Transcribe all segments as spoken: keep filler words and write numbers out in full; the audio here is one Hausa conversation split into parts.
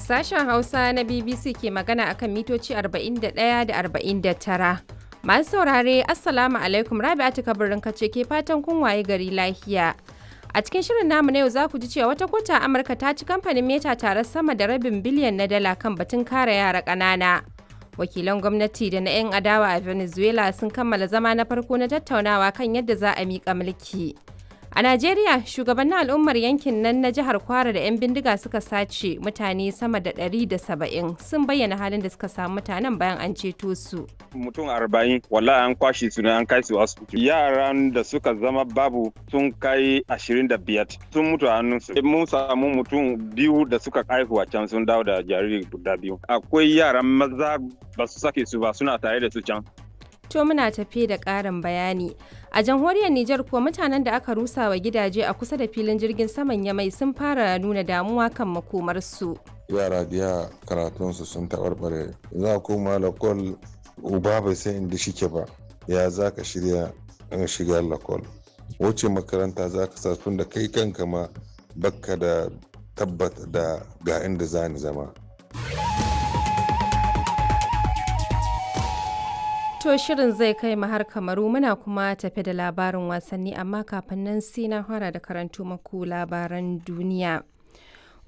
Sashen Hausa na B B C ke magana akan mitoci arba'in da ɗaya da arba'in da tara. Masu saurare, Assalamu alaikum, Rabi'atu Kabirin kace ke fatan kun waye gari lafiya. A cikin shirin namu na yau za ku ji cewa wata kota Amurka ta ci kamfanin Meta tare sama da rabin biliyan na dala kan batun kare yara ƙanana. Wakilan gwamnati da na 'yan adawa a Venezuela sun kammala zama na farko na tattaunawa kan yadda za a miƙa mulki. A Najeriya, shugabannin al'ummar yankin nan na jihar Kwara da 'yan bindiga suka sace mutane sama da ɗari da saba'in sun bayyana halin da suka samu mutanen bayan an ceto su. Mutum arba'in wallahi an kwashe su ne an kai su asibiti. Yaran da suka zama babu sun kai ashirin da biyar, sun mutu a hannunsu. Mun samu mutum biyu da suka haihu a can, sun dawo da jariri guda biyu. Akwai yaran maza ba su sake su ba, suna tare da su can. To, muna tafe da ƙarin bayani. A jamhuriyar Nijar kuwa, mutanen da aka rusa wa gidaje a kusa da filin jirgin saman Yamai sun fara nuna damuwa kan makomarsu. Yara biya karatunsu sun taɓarɓare, za a koma lakol, uba bai san inda shike ba, ya za ka shirya in shiga lakol, wace makaranta za ka sa, tun da kai kanka ma bakka da tabbat da ga inda za ni zama. To, shirin zai kai mu har Kamaru, muna kuma tafe da labarin wasanni, amma kafin nan sai na fara da karanto maku labaran duniya.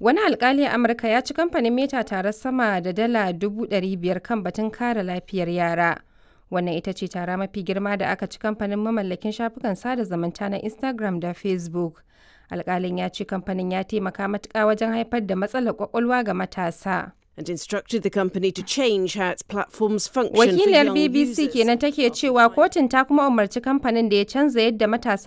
Wani alkali a Amurka ya ci kamfanin Meta tare sama da dala dubu ɗari biyar kan batun kare lafiyar yara. Wannan ita ce tara mafi girma da aka ci kamfanin mamallakin shafukan sada zumunta na Instagram da Facebook. Alkalin ya ce kamfanin ya taimaka matuƙa wajen haifar da matsalar kwakwalwa ga matasa. And instructed the company to change how its platforms function for Wakiliyar young B B C users. kenan take cewa kotun ta kuma umarci kamfanin da ya canza yadda matasa